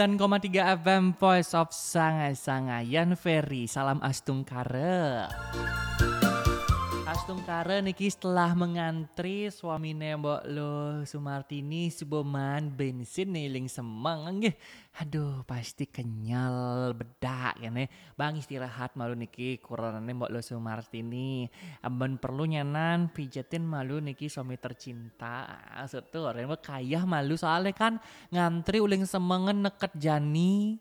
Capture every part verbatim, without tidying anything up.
F M Voice of Sanga-Sanga, Yan Ferry, salam astungkara. Astungkara niki setelah mengantri suamine Mbok Lo Sumartini, suba maan bensin ning Semeng nggih. Aduh, pasti kenyal bedak kene. Bang istirahat malu niki kuranane Mbok Lo Sumartini. Amun perlu nyanan pijetin malu niki suami tercinta. Ah, setu, ora kayah malu soale kan ngantri uling Semengen neket jani,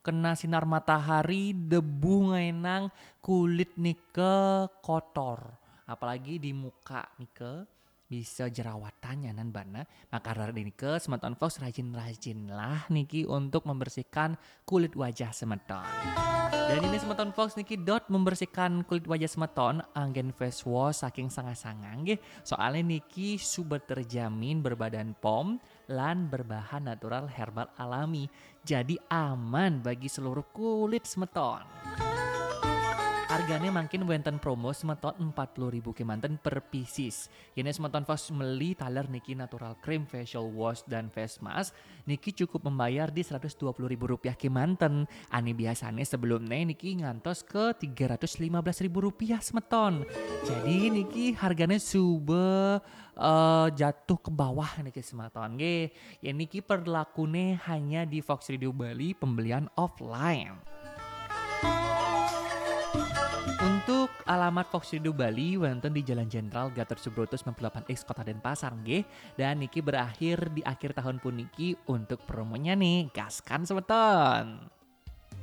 kena sinar matahari, debu ngaenang, kulit nika kotor. Apalagi di muka nika bisa jerawatan nyanan bana. Maka dari nika semeton Fox rajin-rajinlah niki untuk membersihkan kulit wajah semeton. Dan ini semeton Fox niki dot membersihkan kulit wajah semeton anggen face wash saking Sanga-Sanga nggih. Soale niki suba terjamin berbadan pom lan berbahan natural herbal alami. Jadi aman bagi seluruh kulit semeton. Harganya mungkin wenten promo semeton empat puluh ribu kemanten per pieces. Yen semeton Fox meli taler niki natural cream, facial wash, dan face mask, niki cukup membayar di seratus dua puluh ribu rupiah kemanten. Ane biasane sebelumnya niki ngantos ke tiga ratus lima belas ribu rupiah semeton. Jadi niki harganya suba eh, jatuh ke bawah niki semeton nggih. Yen niki perlakune hanya di Fox Radio Bali pembelian offline. Untuk alamat Fox Radio Bali wenten di Jalan Jenderal Gatot Subroto sembilan puluh delapan X Kota Denpasar nggih. Dan niki berakhir di akhir tahun puniki untuk promonya nih. Gaskan semeton.